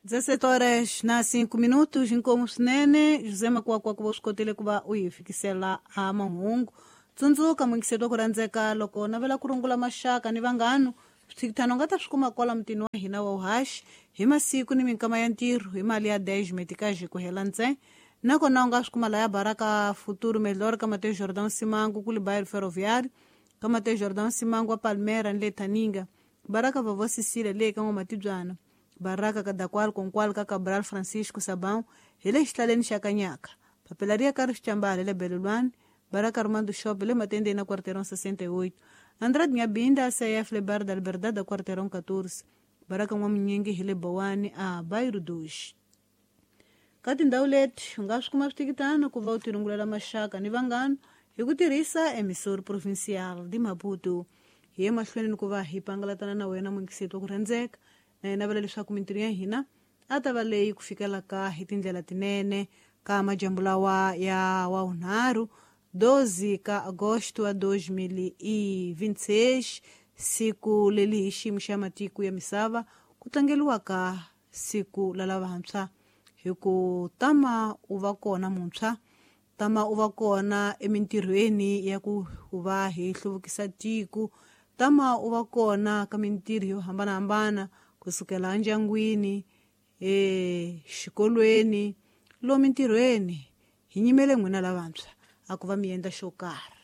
17 horas na 5 minutos, inkomu swinene José Makwakwa ku va u swi kotile ku va u hi fikisela a mahungu. Tsundzuka muyingiseri wa ku rhandzeka, loko navela ku rungula maxaka ni vanghano, swithikithano u nga ta swi kuma kwala mutini wa hina wa uhaxi hi masiku ni minkama ya ntirho hi mali ya 10 metikaji ku hela ntsena. Nakona u nga swi kuma laya Baraka Futuro Melhor ka Mateus Jordão Simango kule bairro Ferroviário, ka Mateus Jordão Simango wa Palmera ni le Thaninga, Baraka Vovó Cecília le ka N'wamatibyana, Baraka Kadakwal Konkwal ka Cabral Francisco Sabão hi le xihlaleni xa Kanyaka, Papelaria Carlos Chambala le Belulwani, Baraka Armando Shop le Matendeni na Quarteirão 68, Andrade Nyabinda CF le Bar da Liberdade da Quarteirão 14, Baraka N'wamunyingi hi le Bowani a Bairro 2. Ka tindhawu leti u nga swi kuma switikitano ku va u tirungulela maxaka ni vanghano hi ku tirhisa Emissora Provincial de Maputo. Hi ye mahlweni ni ku va hi pangalatana na wena muyingiseti wa ku rhandzeka, na hi navela leswaku mintirho ya hina a ta va leyi ku fikelaka hi tindlela tinene ka majambu lawa ya wavunharhu 12 ka agosto wa 2026, siku leli hi xiyimo xa matiko ya misava ku tlangeliwaka siku la lavantshwa. Hi ku tama u va kona muntshwa, tama u va kona emintirhweni ya ku va hi hluvukisa tiko, tama u va kona ka mintirho yo hambanahambana kusukela endyangwini, exikolweni, lomu mintirhweni. Hi nyimele n'wina lavantshwa a ku va mi endla xo karhi.